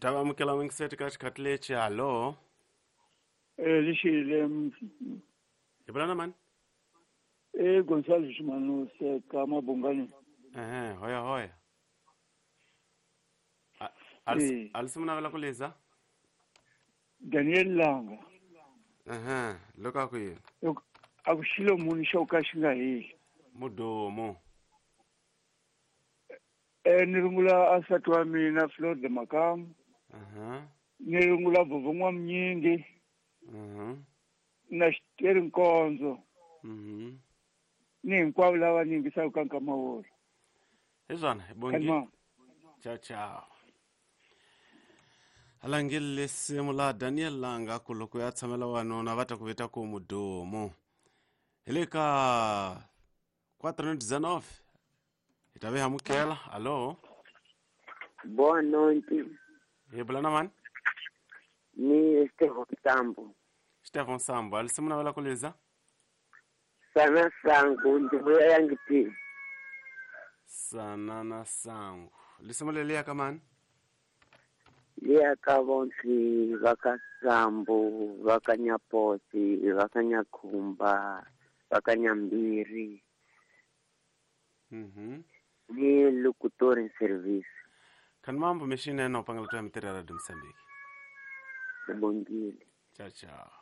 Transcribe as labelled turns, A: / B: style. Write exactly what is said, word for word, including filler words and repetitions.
A: Ta va amukela n'wingiseti ka xikhathi lexi. Hallo.
B: Eh lixile.
A: Hi vula na mani?
B: Eh Gonçalves Manuse ka Mabungani.
A: Ehe, hoya hoya.
B: Eh.
A: Alisi munavela ku liza?
B: Daniel Langa.
A: Ehe, loko a ku yini?
B: A ku xilo muni xo ka xi nga heli.
A: Mudumo.
B: Eh ni rungula asati wa mina Flor de Makamu.
A: Aha.
B: Ni rungula Vovon'wa N'wamnyingi.
A: Mhm.
B: Na Xiteri Nkonzo.
A: Mhm.
B: Ni hinkwavo lava ni yingisaka ka nkama wolowo.
A: Hi swona, hi bongi.
B: Khalima.
A: Ciao ciao. Alangile lesimu la Daniel Langa ku loko ya tshamela wanuna va ta ku vita ku mudumo. Hi le ka quatro dezenove. Hi ta ve amukela. Allo.
C: Boa noite.
A: Hi bula na mani?
C: Ni Stefan Sambo.
A: Stefan Sambo, alisimu navela ku liza?
C: Sana sangu ndibuya yangiti.
A: Sana na sangu. Lisimu leliya ka mani?
C: Liya ka vonsi vaka Sambo, vaka Nyaposi, vaka Nyakhumba, vaka Nyambiri.
A: Mhm.
C: Ni locutor service.
A: Kan mambo mexinene no pangela tu ya mitirho ya Radio Mozambique.
C: Bongile.
A: Ciao ciao.